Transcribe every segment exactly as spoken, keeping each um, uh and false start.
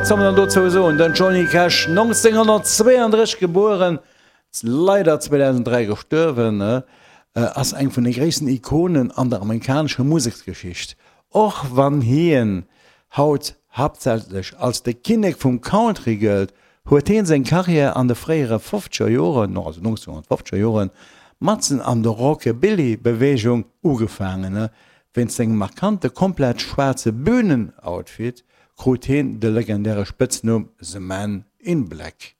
wat soll man dann dozou soen? Den Johnny Cash, nonzénghonnertzweeandrësseg gebueren, leider zweedausenddräi gestuerwen, ass eng vun de gréissten Ikonen an der amerikanescher Museksgeschicht. Och wann hien haut haaptsächlech als de Kinnek vum Country gëllt, huet hien seng Karriär an de fréiere fofzeger Joren, also nonzénghonnertfofzeger Joren, matzen an der Rockabilly-Beweegung ugefaangen. Wéinst sengem markante komplett schwaarze Bühnenoutfit krut hien de legendäre Spëtznumm The Man in Black.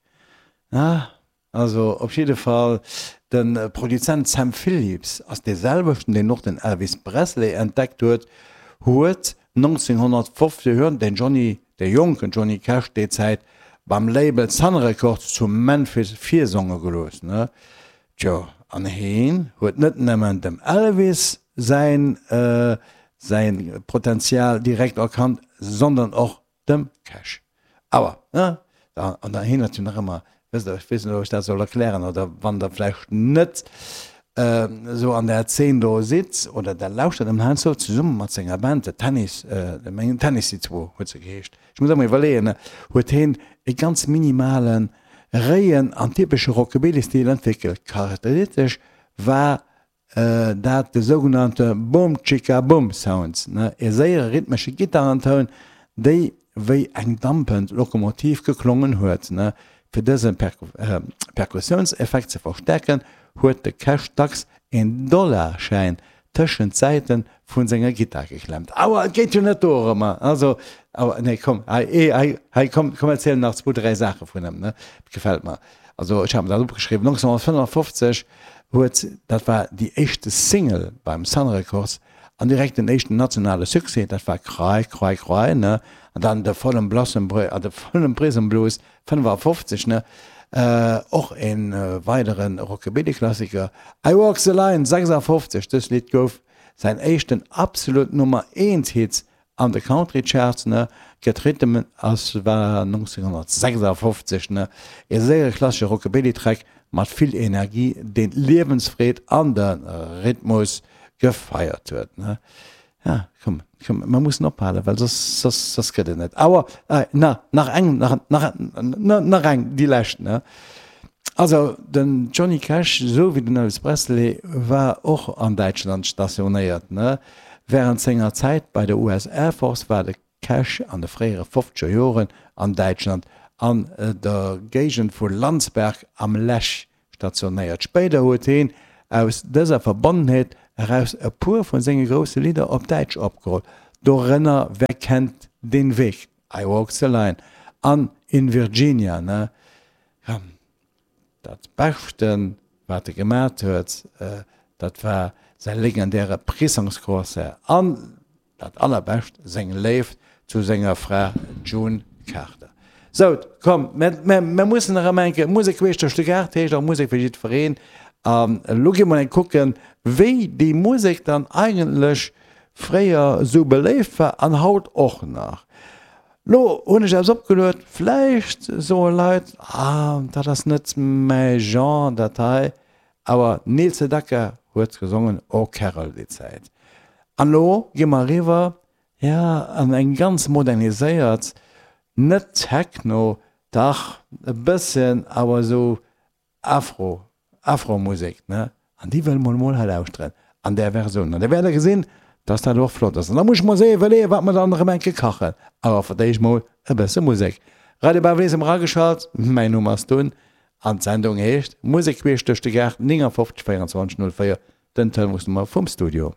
Also op jidde Fall, de Produzent Sam Phillips ass dee selwechten, deen och den Elvis Presley entdeckt huet, huet nonzénghonnertfofzeg den Johnny, de jonken Johnny Cash déi Zäit beim Label Sun Records zu Memphis virsonge gelooss. Tjo, an hien huet net nëmmen dem Elvis säin säin Potenzial direkt erkannt, sondern och dem Cash. Awer, ne, an da hien huet jo nach ëmmer, wësst Der, ech weess net, ob ech dat soll erklären oder wann Der vläicht net esou an där Zeen do sidd oder der lauschtert ëm heiansdo zesumme mat senger Band, The Tennis, mengen Tennessee Two huet se geheescht, ech muss ëmmer iwwerleeën, ne, huet hien e ganz minimalen, réien an typesche Rockabilly-Stil entwéckelt. Charakteristesch war dat de sougenannte Boom-Chicka-Boom-Sound, e séiere rhythmesche Gittarentoun, déi wéi eng dampend Lokomotiv geklongen huet. Fir dëse Perkussiounseffekt ze verstäerken, huet de Cash dacks een Dollarschäin tëschent d'Säite vu senger Gittar geklemmt. Aua, et geet jo net dorëmmer! Also, awer nee, komm, hei, hei, hei, komm, komm, erziel nach zwou, dräi Saache vun em, ne? Gefält mer. Also, ech hat mer dat opgeschriwwen, nonzénghonnertfënnefafofzeg huet, dat war déi éischte Single beim Sun Records an direkt den éischten nationale Succès, dat war Cry, Cry, Cry, ne? An dann de Folsom Blossom, de Folsom Prison Blues, fënnefafofzeg, ne? Och e weidere Rockabilly-Klassiker. I Walk the Line, sechsafofzeg, dëst Lidd gouf säin éischten absolut Nummer-eent-Hit an de Country Charts, ne, Get Rhythm ass war nonzénghonnertsechsafofzeg, ne, e séiere klassesche Rockabilly-Track mat vill Energie, deen d'Liewensfreed an de Rhythmus gefeiert huet, ne. Ja, komm, komm, mer mussen ophalen, well soss, soss, soss gëtt et net. Awer, na, nach eng, nach, nach, nach eng, déi lescht, ne. Also, den Johnny Cash, esou wéi den Elvis Presley, war och an Däitschland stationéiert, ne. Wärend senger Zäit bei der U S Air Force war de Cash an de fréiere fofzeger Joren an Däitschland an der Géigend vu Landsberg am Lech stationéiert. Spéider huet heen aus dëser Verbonnenheet eraus e puer vu senge grousse Lidder op Däitsch opgeholl, dorënner Wer kennt den Weg, I Walk the Line an In Virginia. Ne? Dat Beschten, wat e gemat huet, dat war säi legendäre Prisongsconcert an dat Allerbescht, seng Léift zu senger Fra June Carter. Sou, komm, mer mussen erëm eng Kéier, Musek queesch duerch de Gaart heescht och Musek fir jiddwereen. An elo gi mer eng kucken, wéi déi Musek dann eigentlech fréier esou beléift war an haut och nach. Lo hunn ech eppes opgeluet, vläicht soe Leit, ah, dat ass net mäi Genre, dat hei. Awer Neil Sedaka huet gesongen, Oh Carol, déi Zäit. An elo gi mer eriwwer, jo, an eng ganz moderniséiert, net Techno, dach e bësschen, awer esou Afro, Afro-Musek, ne? An déi wëlle mer emol hei lauschteren an där Versioun. An da wäert Der gesinn, dass dat och flott ass. An da muss ech mol séier iwwerleeën, wat mer dann erëm eng Kéier kachen. Awer fir d'éischt mol e bësse Musek. Radio Bavelés um erageschalt, mäin Numm ass Tun an d'Sendung heescht Musek queesch duerch de Gaart, néngafofzeg véierundzwanzeg null véier, den Telefonsnummer vum Studio.